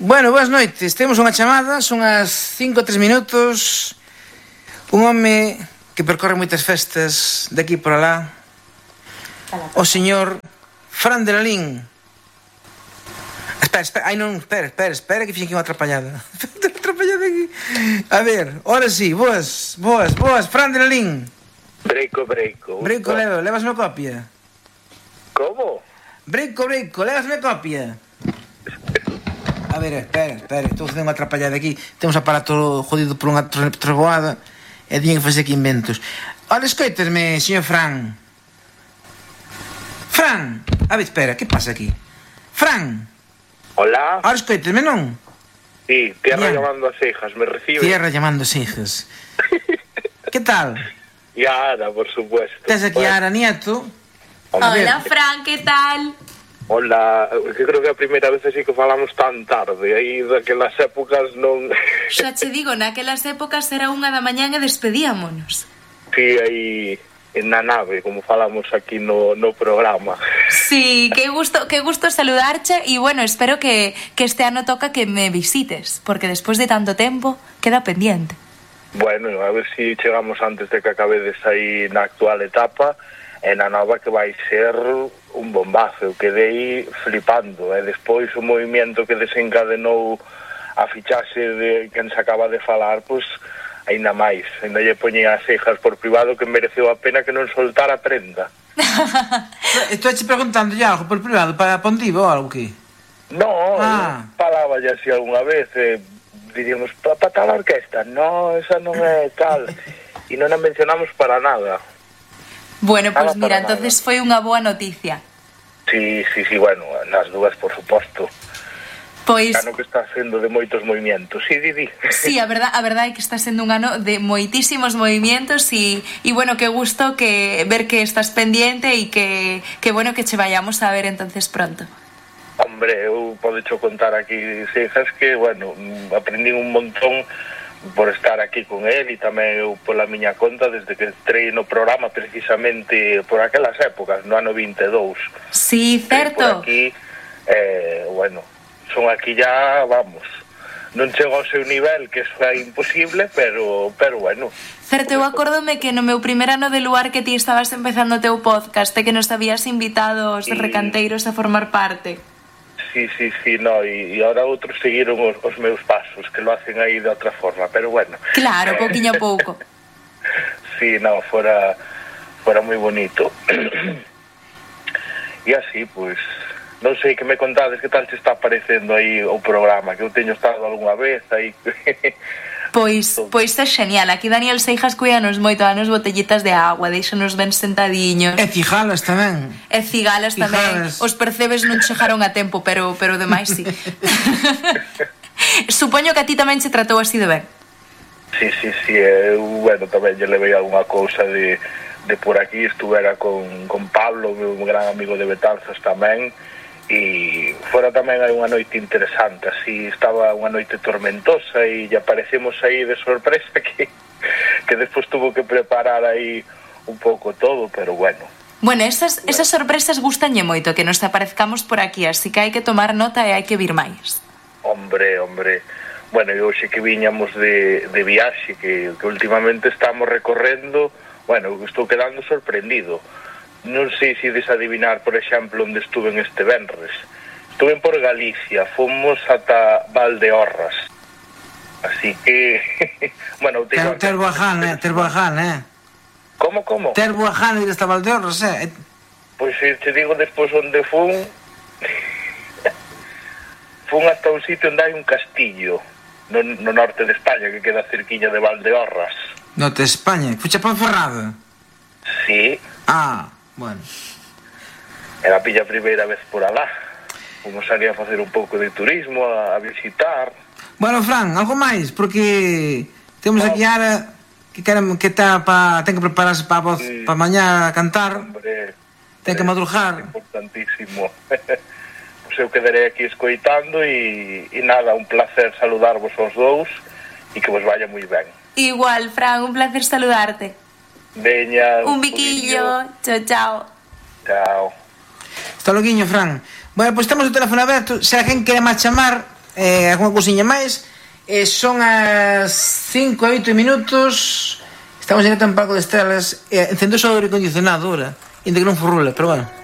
Bueno, boas noites. Temos unha chamada, son as 5:03 minutos. Un home que percorre moitas festas de aquí por alá. O señor Fran de Lalín. Espera, espera, que fixen aquí unha atrapallada. Atrapallada aquí. A ver, ahora sí, boas, Fran de Lalín. Breico. Levasme copia. Como? Breico, levasme copia. A ver, espera, estou facendo unha atrapallada aquí. Temos aparato jodido por unha trovoada e tiñen que facer aquí inventos. Ora, escoitasme, señor Fran. Fran, a ver, espera, que pasa aquí? Fran. Hola. Ora, escoitasme, non? Sí, tierra llamando a cejas, ¿me recibe? Tierra llamando a cejas. Que tal? Y a Ana, por supuesto. Tes aquí a Ara Nieto. Hola, Fran, que tal? Hola, que creo que a primeira vez así que falamos tan tarde. Aí daquelas épocas non... Xa che digo, naquelas épocas era 1:00 da mañá e despedíamonos. Sí, aí na nave, como falamos aquí no programa. Sí, que gusto saludarche e bueno, espero que este ano toca que me visites, porque despois de tanto tempo queda pendiente. Bueno, a ver si chegamos antes de que acabedes aí na actual etapa e na nova, que vai ser un bombazo. Eu quedei flipando, e despois o movimento que desencadenou a fichaxe de quen se acaba de falar, pois aínda máis, aínda lle poñei as cejas por privado que mereceu a pena que non soltara a prenda. Estou che preguntando ya algo por privado para Pontivo ou algo que? No, falaba ya así algunha vez, diríamos, para tal orquesta, no, esa non é tal, e non a mencionamos para nada. Bueno, pois mira, entonces foi unha boa noticia. Sí, bueno, nas dúas, por suposto. Pois... Ano que está sendo de moitos movimentos, sí, Didi. Sí, a verdade é que está sendo un ano de moitísimos movimentos e bueno, que gusto que ver que estás pendiente e que bueno que che vayamos a ver entonces pronto. Hombre, eu podecho contar aquí, Cejas, que, bueno, aprendí un montón por estar aquí con él e tamén eu pola miña conta desde que entrei no programa precisamente por aquelas épocas, no ano 22. Sí, certo. Por aquí, bueno, son aquí ya, vamos, non chego ao seu nivel, que eso é imposible, pero bueno. Certo, eu acórdome que no meu primer ano de Luar que ti estabas empezando o teu podcast e que nos habías invitado os recanteiros a formar parte. Sí, no, e ahora outros seguiron os meus pasos, que lo hacen aí de outra forma, pero bueno. Claro, pouquiño a pouco. Sí, no, fora moi bonito. E así, pois, non sei que me contades, que tal te está parecendo aí o programa, que eu teño estado algunha vez aí... Pois é genial. Aquí Daniel Seijas cuídanos moito, danos botellitas de agua, deixanos ben sentadiños. E cigalas tamén. Os percebes non chegaron a tempo, pero demais sí. Supoño que a ti tamén se tratou así de ben. Sí, eu, bueno, tamén lle levei algunha cousa de por aquí, estuvera con Pablo, meu gran amigo de Betanzos tamén, e fora tamén hai unha noite interesante, así estaba unha noite tormentosa e lle aparecemos aí de sorpresa que despois tuvo que preparar aí un pouco todo, pero bueno. Bueno, esas sorpresas gustanlle moito, que nos aparezcamos por aquí, así que hai que tomar nota e hai que vir máis. Hombre, bueno, e hoxe que viñamos de viaxe, que últimamente estamos recorrendo, bueno, estou quedando sorprendido. Non sei se desadivinar, por exemplo, onde estuve este venres. Estuve por Galicia, fomos ata Valdeorras. Así que... bueno, Terboaján, Como? Terboaján e hasta Valdeorras, Pois te digo despois onde fun hasta un sitio onde hai un castillo no norte de España, que queda cerquiña de Valdeorras. Norte de España? Fucha Ponferrada? Sí. Bueno. Era a pilla primeira vez por alá. Fomos ali a facer un pouco de turismo, a visitar. Bueno, Fran, algo máis, porque temos aquí Ara que ten que prepararse para a voz para mañá a cantar. Hombre, ten que madrugar. Importantísimo. Pois eu quedarei aquí escoitando e nada, un placer saludarvos aos dous e que vos vaya moi ben. Igual, Fran, un placer saludarte. Veña, un biquillo. Chao. Hasta loguiño, Fran. Bueno, pois temos o teléfono aberto. Se alguén quere máis chamar, alguna cousiña máis. Son as 5 e 8 minutos. Estamos en un palco de estrelas. Encendo só o aire acondicionado ahora, ainda que non furrula, pero bueno.